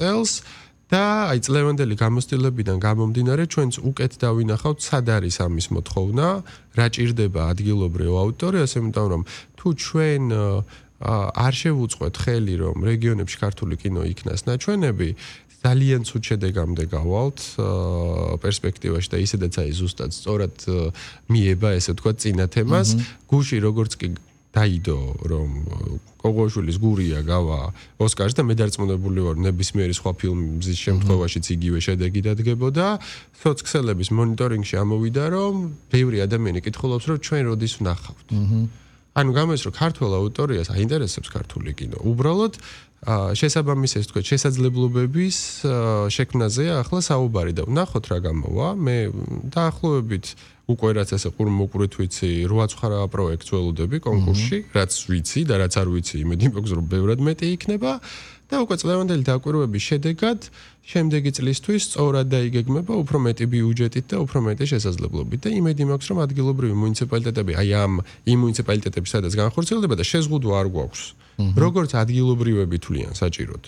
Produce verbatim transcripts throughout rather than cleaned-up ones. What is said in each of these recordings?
წელს და აი წლევანდელი გამოცდილებიდან გამომდინარე ჩვენც უკეთ დავინახავთ სად არის ამის მოთხოვნა, რა ჭირდება ადგილობრივ აუდიტორიას, იმიტომ რომ თუ ჩვენ არ შევუწყოთ ხელი რომ რეგიონებში ქართული კინო იქნას ნაჩვენები ძალიან ცუდ შედეგამდე გავალთ პერსპექტივაში და ისედაც აი ზუსტად სწორად მიება ესე თქვა წინა თემას გუში როგორც კი დაიდო რომ კოღოშვილის გურია გავა ოსკარს და მე დარწმუნებული ვარ ნებისმიერი სხვა ფილმის შემთხვევაშიც იგივე შედეგი დადგებოდა სოციქსელების მონიტორინგში ამოვიდა რომ ბევრი ადამიანი კითხულობს რომ ჩვენ როდის ვნახავთ ანუ გამოდის რომ ქართულ აუდიტორიას აინტერესებს ქართული კინო უბრალოდ შესაბამის ეს თქვა შესაძლებლობების შექმნაზეა ახლა საუბარი და ვნახოთ რა გამოვა მე დაახლოებით უკვე რაც ესე ყურმოყვრით ვიცი რვა ცხრა პროექტს ველოდები კონკურსში რაც ვიცი და რაც არ ვიცი იმედი მაქვს რომ ბევრად მეტი იქნება და უკვე წლევანდელი დაკვირვების შედეგად შემდეგი წლისთვის სწორად დაიგეგმება უფრო მეტი ბიუჯეტით და უფრო მეტი შესაძლებლობით და იმედი მაქვს რომ ადგილობრივი მუნიციპალიტეტები აი ამ იმ მუნიციპალიტეტებში სადაც განხორციელდება და შეზღუდვა არ გვაქვს როგორც ადგილობრივები თვლიან საჭიროდ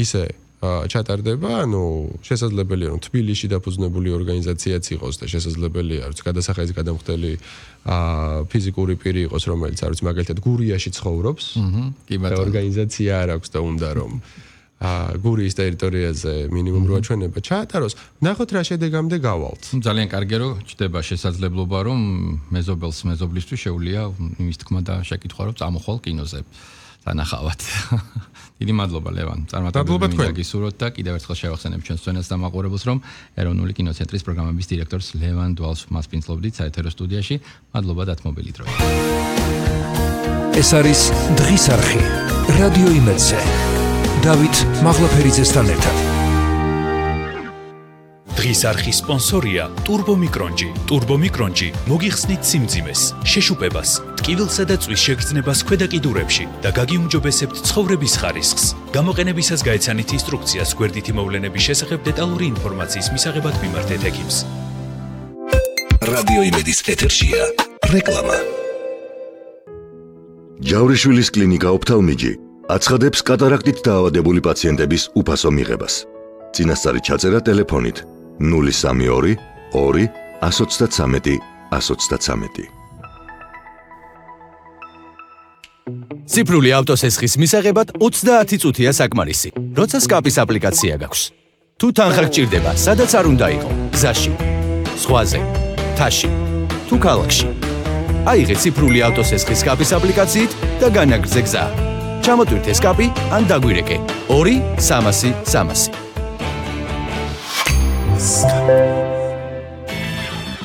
ისე ჩატარდება, ანუ შესაძლებელია რომ თბილისში დაფუძნებული ორგანიზაციაც იყოს და შესაძლებელია რომ გადასახადის გადამხდელი ფიზიკური პირი იყოს, რომელიც არის მაგალითად გურიაში ცხოვრობს. კი ბატონო. ორგანიზაცია არ აქვს და უნდა რომ გურიის ტერიტორიაზე მინიმუმ რვა ჩვენება ჩაატაროს. ნახოთ რა შედეგამდე გავალთ. ძალიან კარგია რომ ჩდება შესაძლებლობა რომ მეზობელს მეზობლისთვის შეუძლია იმის თქმა და შეკითხვა რომ წამოხვალ კინოზე. თანახავად. დიდი მადლობა ლევან. წარმატებები გისურვოთ და კიდევ ერთხელ შევახსენებ ჩვენს წვენას და მაყურებელს რომ ეროვნული კინოცენტრის პროგრამების დირექტორს ლევან დვალს მასპინძლობდით საეთერო სტუდიაში. მადლობა დათმობილი დროით. ეს არის დღის არხი. რადიო იმედზე. დავით მაღლაფერიძესთან ერთად. დღის არხის სპონსორია ტურბომიკრონჯი. ტურბომიკრონჯი მოგიხსნით სიმძიმეს, შეშუპებას, ტკივილსა და წვის შეგრძნებას ქვედა კიდურებში და გაგიუმჯობესებთ ცხოვრების ხარისხს. გამოყენებისას გაეცანით ინსტრუქციას გვერდითი მოვლენების შესახებ დეტალური ინფორმაციის მისაღებად მიმართეთ ექიმს. რადიო იმედის ეთერშია რეკლამა. ჯავრიშვილის კლინიკა ოფთალმიჯი აცხადებს კატარაქტით დაავადებული პაციენტების უფასო მიღებას. წინასწარი ჩაწერა ტელეფონით ნული სამი ორი ორი ათს ოცდათრამეტი ათს ოცდათრამეტი. ციფრული ავტოსესხის მისაღებად ოცდაათი წუთია საკმარისი, როცა სკაპის აპლიკაცია გაქვს. თუ თანხა გჭირდება, სადაც არ უნდა იყო, გზაში, ზღვაზე, მთაში, თუ ქალაქში. აიღე ციფრული ავტოსესხის სკაპის აპლიკაციით და განაგრძე გზა. ჩამოტვირთე სკაპი ან დაგვირეკე ორი სამასი სამასი.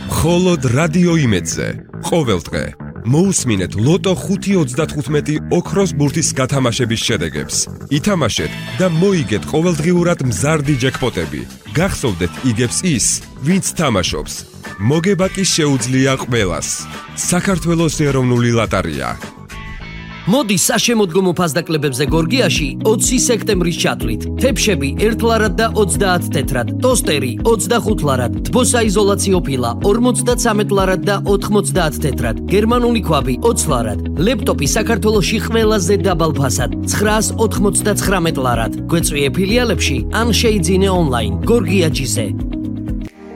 მხოლოდ რადიო იმედზე ყოველ დღე მოусმინეთ ლოტო ხუთი ოცდათხუთმეტი ოქროს ბურთის გათამაშების შედეგებს. ითამაშეთ და მოიგეთ ყოველდღიურად მზარდი ჯეკპოტები. გახსოვდეთ იგებს ის, ვინც თამაშობს. მოგება კი შეუძლია ყველას. საქართველოს ეროვნული ლოტარია. მოდი საშემოდგომო ფასდაკლებებზე გორგიაში ოცი სექტემბრის ჩათვლით. თეფშები ერთ ლარად და ოცდაათ თეთრად, ტოსტერი ოცდახუთ ლარად, თბოსაიზოლაციო ფილა ორმოცდათრამეტ ლარად და ოთხმოცდაათ თეთრად, გერმანული ქვაბი ოცი ლარად, ლეპტოპი საქართველოში ყველაზე დაბალ ფასად ცხრაას ოთხმოცდათხრამეტ ლარად. გვეწვიე ფილიალებში ან შეიძინე ონლაინ გორგიაჯიზე.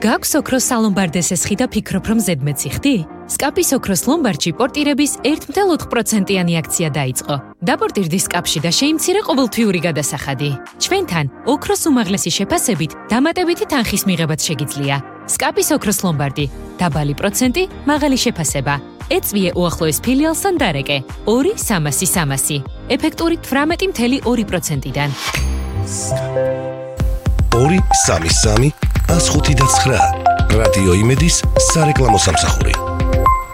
გაქვს ოქროს სალომბარდეს ესხი და ფიქრობ რომ ზედმეტი ხდი? სკაპის ოქროს ლომბარდში პორტირების ერთ ათი პროცენტიანი აქცია დაიწყო. დაპორტირდი სკაპში და შეიმცირე ყოველთვიური გადასახადი. ჩვენთან ოქროს უმაღლესი შეფასებით დამატებითი თანხის მიღებაც შეგიძლია. სკაპის ოქროს ლომბარდი. დაბალი პროცენტი, მაღალი შეფასება. ეწვიე უახლოეს ფილიალს ან დარეკე. ორი სამასი სამასი. ეფექტური თვრამეტი მცდამეტი ორი პროცენტიდან. ორი სამი სამი ას ხუთი და ცხრა. რადიო იმედის სარეკლამო სამსახური.